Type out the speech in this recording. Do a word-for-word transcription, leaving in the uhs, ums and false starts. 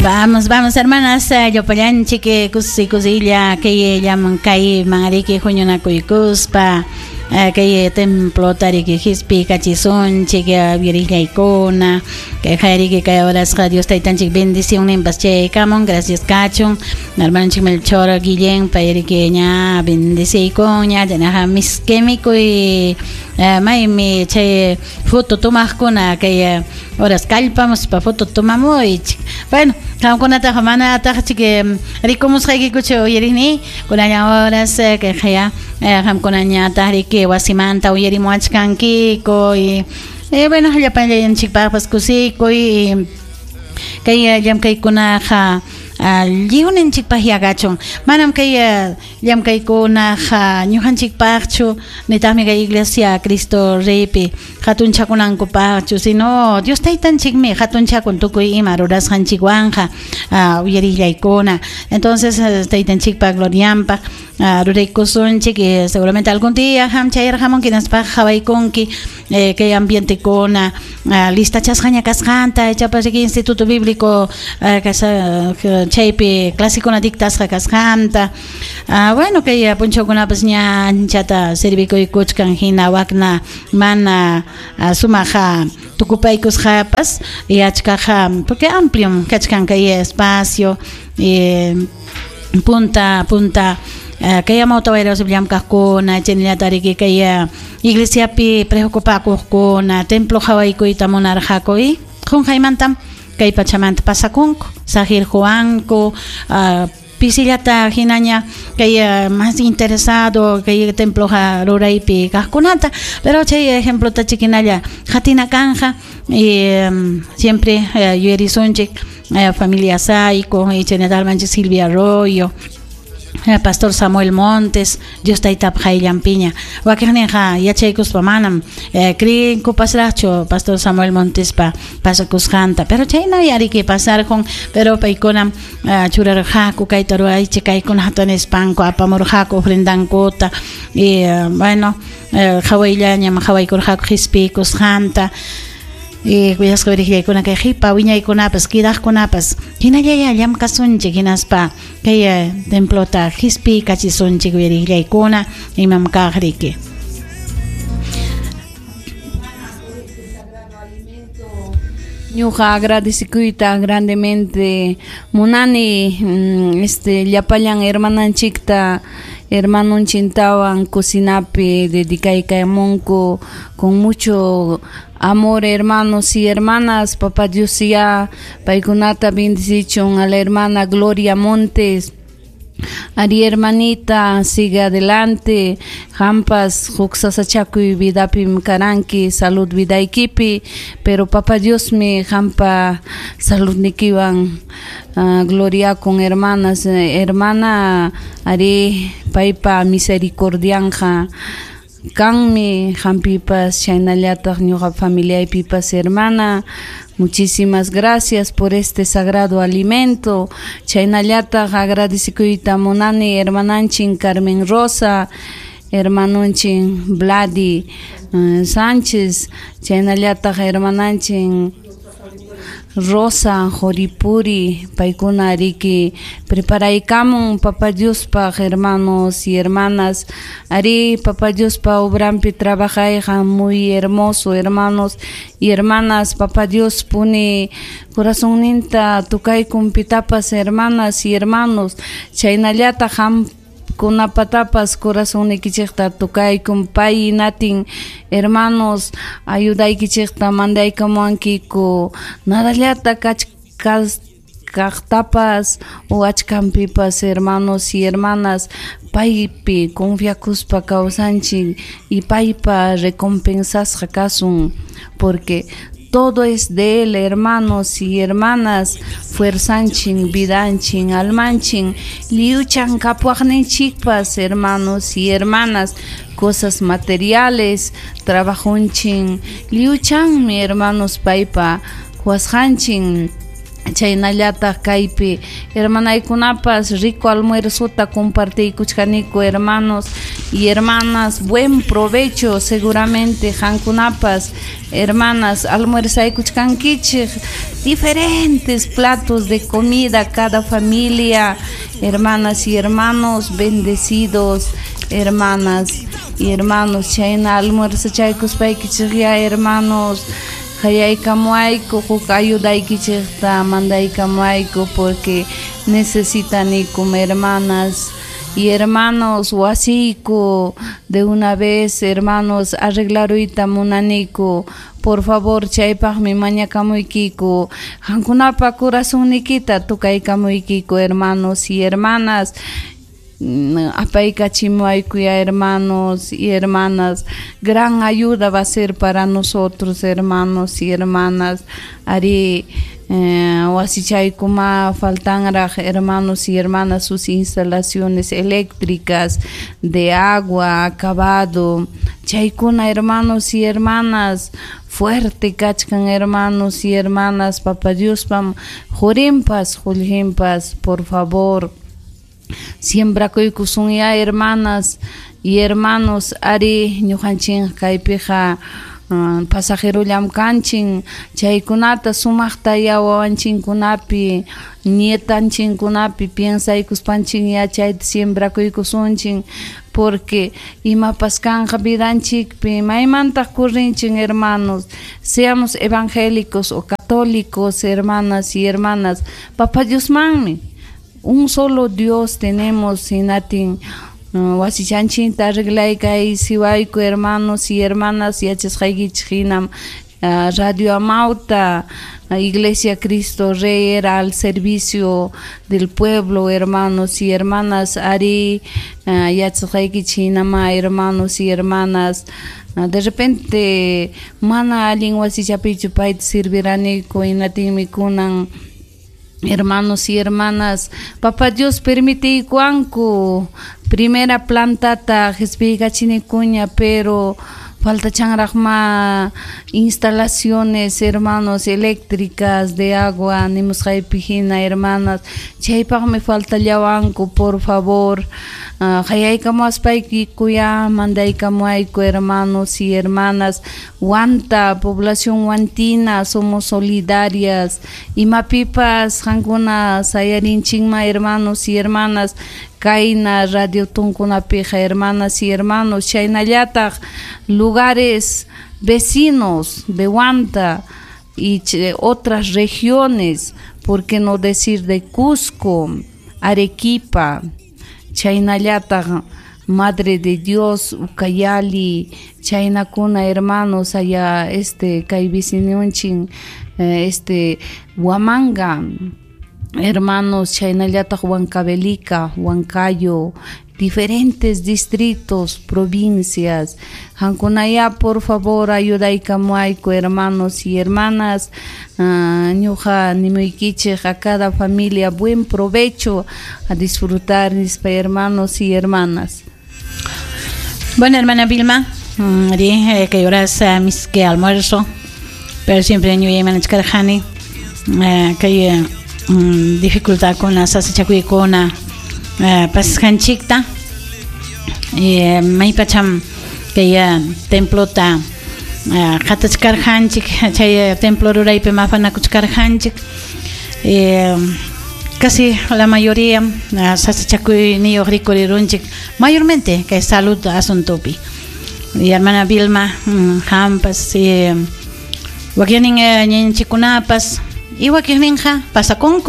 Vamos, vamos, hermanas, llapallanchik kusi kusilla kay llamkay manariki huñunakuykuspa kay templo tariki hispi kachisunchik wirillaykuna kay hariki kay horasqa Dios taytanchik bendicionninpas chaykamun gracias kachun hermanonchik Melchor Guillén payriki ña bendiciykuña chaynaqa miskimikuy maymi chay foto tumaqkuna kay horas kallpamuspa foto tumamuychik. Bueno, qamkunataqa manataq chik rikumusqaykikuchu uyariqni kunallan horas kay qaya qamkunañataq riki wasimanta uyarimuachkankiku y eh, bueno, llapallanchikpaqpas kusikuy kay llamkaykunaqa lliwninchikpaq yaqachun manam kay llamkaykunaqa ñuqanchikpaqchu nitaqmi kay iglesia Cristo Reypi hatunchakunankupaqchu sino Dios taytanchikmi hatunchakun tukuy ima rurasqanchikwanqa uyarillaykuna. Entonces taytanchikpa glorianpaq ruraykusunchik y seguramente algún día ham chayarqamunki hinaspa qhawaykunki kay ambientekuna listachasqaña kasqanta ichapas riki Instituto Bíblico chaypi clasikuna dictasqa kasqanta. Bueno, kay punchawkunapas ña anchata servikuykuchkan hina wakna mana sumaqa tukupaykusqapas y achkaqa porque amplio kachkan kay espacio y punta punta kay amawtawayra llamkaqkuna chaynallataq riki kay iglesiapi preocupakuqkuna templo qhawaykuyta munarqaku y qunqaymantam kay pachamanta pasakunku saqirquwanku pisillata hinaña kay más interesado kay templo ruraypi kaqkunata pero chay ejemplota chikinalla qatina kanja y siempre yuyarisunchik familia Saico y chaynallataq Silvia Arroyo Pastor Samuel Montes, Dios taytap qayllanpiña wakiqninqa yachaykuspa manam creenkupasraqchu Pastor Samuel Montespa pasakusqanta pero chayna yariki pasarqun pero paykunam churarqaku kayta ruwaychik kaykunata nispanku apamurqaku ofrendankuta y bueno qhawayllañam qhawaykurqaku qispikusqanta y kuyasqa wirillaykuna kay qipa wiñaykunapas kidaqkunapas hinallaya llamkasunchik hinaspa kay templota qispi kachisunchik wirillaykuna imam kaq riki. Ñuqa agradecikuyta grandemente munani este llapallan hermananchikta hermanonchintawan cocinapi dedicaykamunku con mucho amor, hermanos y hermanas. Papá Dios ya paykunata bendicichun a la hermana Gloria Montes. Ari hermanita, sigue adelante. Hampas huk sasachakuy vidapim karanki, salud vidaykipi, pero Papá Dios mi hampa salud nikiwan uh, gloria con hermanas, hermana ari paypa misericordianja kanmi hampipas chaynallataq ñuqa familiaypipas hermana. Muchísimas gracias por este sagrado alimento. Chaynallataq agradecikuyta munani hermananchin Carmen Rosa, hermanonchin Vladi uh, Sánchez, chaynallataq hermananchin Rosa Joripuri, paykuna riki preparaykamun Papá Diospaq hermanos y hermanas. Ari Papá Diospa obrampi trabajayqa muy hermoso, hermanos y hermanas. Papá Dios pone corazonninta tukaykun pitapas hermanas y hermanos. Chaynallataq ham kunapatapas corazonnikichikta tukaykun pay natin hermanos ayudaykichikta mandaykamuwankiku nadallata kachkas kaqtapas o achkanpipas hermanos y hermanas paypi confiakuspa kawsanchik y paypa recompensasqa kasun porque todo es de él, hermanos y hermanas. Fuerzanchin, vidanchin, almanchin, liuchan kapuaqninchikpas, hermanos y hermanas. Cosas materiales, trabajonchin, liuchanmi, hermanos, paypa huasqanchin. Chaynallataq kaypi hermanaykunapas rico almuerzota compartiykuchkaniku, hermanos y hermanas, buen provecho. Seguramente qamkunapas, hermanas, almuerzaykuchkankichik diferentes platos de comida cada familia, hermanas y hermanos, bendecidos, hermanas y hermanos. Chayna almuerzachaykuspaykichik ya, hermanos, qayaykamuayku, huk ayudaykichikta mandaykamuayku, porque necesitanikum, hermanas y hermanos. Wasiyku de una vez, hermanos, arreglaruyta munaniku. Por favor, chaypaqmi mañakamuykiku, qamkunapa corazonniykita tukaykamuykiku, hermanos y hermanas. Apaykachimuayku ya, hermanos y hermanas, gran ayuda va a ser para nosotros, hermanos y hermanas. Ari eh, wasichaykuma faltanraq, hermanos y hermanas, sus instalaciones eléctricas, de agua, acabado, chaykuna, hermanos y hermanas, fuerte kachkan, hermanos y hermanas. Papa Diospam qurinpas qullqinpas, por favor, siembrakuykusunya, hermanas y hermanos. Ari ñuqanchik kaypiqa uh, pasajerollam kanchin. Chaykunata sumaqta ya wawanchinkunapi, nietanchikkunapi piensaykuspanchin ya chayta siembrakuykusunchik, porque imapas kanqa vidanchikpi, maymantaq corrinchin, hermanos? Seamos evangélicos o católicos, hermanas y hermanas, Papa Diosmanmi, un solo Dios tenemos. Hinatin uh, wasichanchikta arreglaykaisiwayku, hermanos y hermanas. Yachasqaykichik hinam uh, Radio Amauta, Iglesia Cristo Rey era al servicio del pueblo, hermanos y hermanas. Ari uh, yachasqaykichik hinama, hermanos y hermanas, uh, de repente mana allin wasichapichu payta serviraniku. Hinatinmi kunan, hermanos y hermanas, Papa Dios permitiykuwanku primera plantata qispiykachinikuña, pero faltachanraqma instalaciones, hermanos, eléctricas, de agua, nimusqaypi hina, hermanas. Chaypaqmi faltallawanku. Por favor, uh, qayaykamuwaspaykiku mandaykamuwayku, hermanos y hermanas. Huanta, población huantina, somos solidarias, imapipas qankuna sayarinchikma, hermanos y hermanas, kayna radio tunkunapiqa, hermanas y hermanos. Chaynallataq lugares vecinos de Huanta y otras regiones, por qué no decir de Cusco, Arequipa, chaynallataq Madre de Dios, Ucayali, chaynakuna, hermanos, allá este kay vecinunchin, eh, este Huamanga, hermanos, chaynallataq Huancavelica, Huancayo, diferentes distritos, provincias. Qamkunaya, por favor, ayudaykamuayku, hermanos y hermanas. Uh, ñuqa nimuykichik a cada familia buen provecho, a disfrutar, mis hermanos y hermanas. Bueno, hermana Vilma, mm, dije que horas uh, mis que almuerzo, pero siempre ñuyaymanachkarqani uh, kay um, dificultad con la sasachakuykuna uh, pasasqanchikta y maypacham kay templota uh, qatachkarqanchik, chay templo ruraypi mafanakuchkarqanchik, eh, casi la mayoría uh, sasachakuyniyuq rikurirunchik, mayormente kay salud asuntopi. Y hermana Vilma, mm, qampas, y wakinnin ñañanchikkunapas y wakinninqa pasakunku.